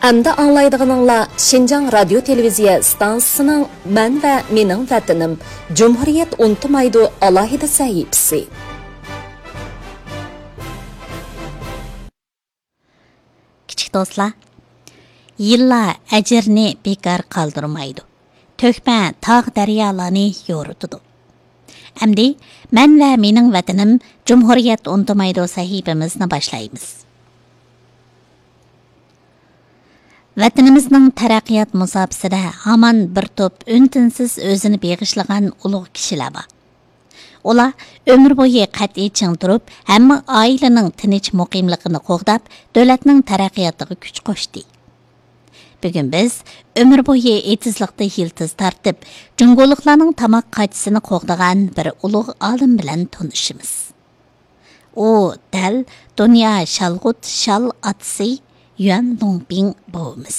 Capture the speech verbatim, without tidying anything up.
ئەمدى ئاڭلايدىغىنىڭلار شىنجاڭ رادىيو تېلېۋىزىيە ئىستانسىسىنىڭ مەن ۋە مېنىڭ ۋەتىنىم، جۇمھۇرىيەت ئۇنتۇمايدۇ ئالاھىدە سەھىپىسى. كىچىك دوستلار، يىللار ئەجىرنى بىكار قالدۇرمايدۇ. تۆكمە تاغ دەريالارنى يورۇتىدۇ. ئەمدى مەن ۋە مېنىڭ ۋەتىنىم جۇمھۇرىيەت ئۇنتۇمايدۇ سەھىپىمىزنى باشلايمىز. ۋەتىنىمىزنىڭ تەرەققىيات مۇساپىسىدە ھامان بىر توپ ئۈن-تىنسىز ئۆزىنى بېغىشلىغان ئۇلۇغ كىشىلەر بار. ئۇلار ئۆمۈر بويى قەتئىي چىڭ تۇرۇپ، ھەممە ئائىلىنىڭ تىنچ مۇقىملىقىنى قوغداپ، دۆلەتنىڭ تەرەققىياتىغا كۈچ قوشتى. بۈگۈن بىز ئۆمۈر بويى ئېتىزلىقتا يىلتىز تارتىپ، جۇڭگولۇقلارنىڭ تاماق قاچىسىنى قوغدىغان بىر ئۇلۇغ ئالىم بىلەن تونۇشىمىز. ئۇ دەل دۇنيا شالغۇت شال ئاتىسى يۈەن لۇڭپىڭ بوۋىمىز.